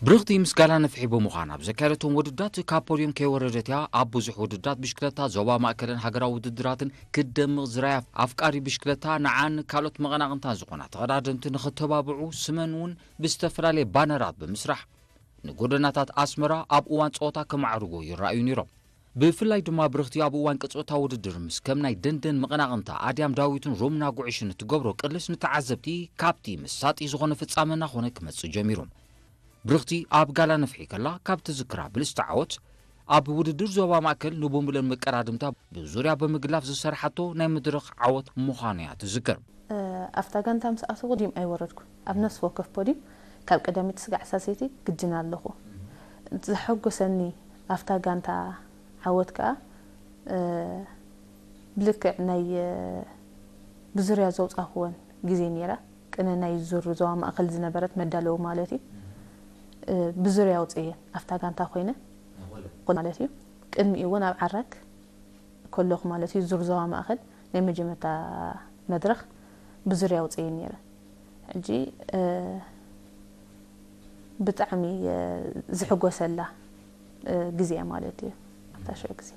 ብርኽቲ ምስ ጋላ ነፍሒ ብምዃን ኣብ ዘካየደቶም ውድዳት ካብ ፖድዮም ከይወረደት እያ። ኣብ ብዙሕ ውድዳት ብሽክለታ ዞባ ማእከልን ሃገራዊ ውድድራትን ክትደምቕ ዝረኣያ ኣፍቃሪ ብሽክለታ፣ ንዓን ካልኦት መቐናቕንታን ዝኾና ተቐዳደምቲ ንኽተባብዑ ስመን እውን ብዝተፈላለየ ባነራት ብምስራሕ ንጎደናታት ኣስመራ ኣብ እዋን ጸወታ ከማዕርጎ ይረኣዩ ነይሮም። ብፍላይ ድማ ብርኽቲ ኣብ እዋን ቅጽበታዊ ውድድር ምስ ከም ናይ ደንደን መቐናቕንታ ኣድያም ዳዊትን ሮምና ጉዕሽን እትገብሮ ቅልስ ንተዓዘብቲ ካብቲ መሳጢ ዝኾነ ፍጻመ እናኾነ ክመጽእ ጀሚሩ። ብርኽቲ ኣብ ጋላ ነፍሒ ከላ ካብ ትዝክራ ብልስቲ ዓወት፣ ኣብ ውድድር ዞባ ማእከል ንቡምብለን መቀዳድምታ ብዙርያ ብምግላፍ ዝሰርሓቶ ናይ መድረኽ ዓወት ምዃኑ እያ ትዝክር። ኣብታ ጋንታ ምስ ኣተኹ ፖዲም ኣይወረድኩ። ኣብ ነፍሲ ወከፍ ፖዲም ካብ ቀዳመይቲ ስጋዕ ሳልሰይቲ ግድን ኣለኹ። ዘሐጎሰኒ ኣብታ ጋንታ ዓወት ከኣ ብልክዕ ናይ ብዙርያ ዘውጻኹወን ግዜ ነይራ። ቅነ ናይ ዙር ዞባ ማእከል ዝነበረት መዳለዊ ማለት እዩ። ብዙርያ ኣውጽእየን ኣብታ ጋንታ ኮይነ ማለት እዩ። ቅድሚኡ እውን ኣብ ዓራግ ከለኹ ማለት እዩ፣ ዙር ዞባ ማእከል ናይ መጀመርታ መድረኽ ብዙርያ ኣውጽእየን ነይረ። ሕጂ ብጣዕሚ ዝሕጎሰላ ግዜ ማለት እዩ ኣብታ ሽዑ ግዜ።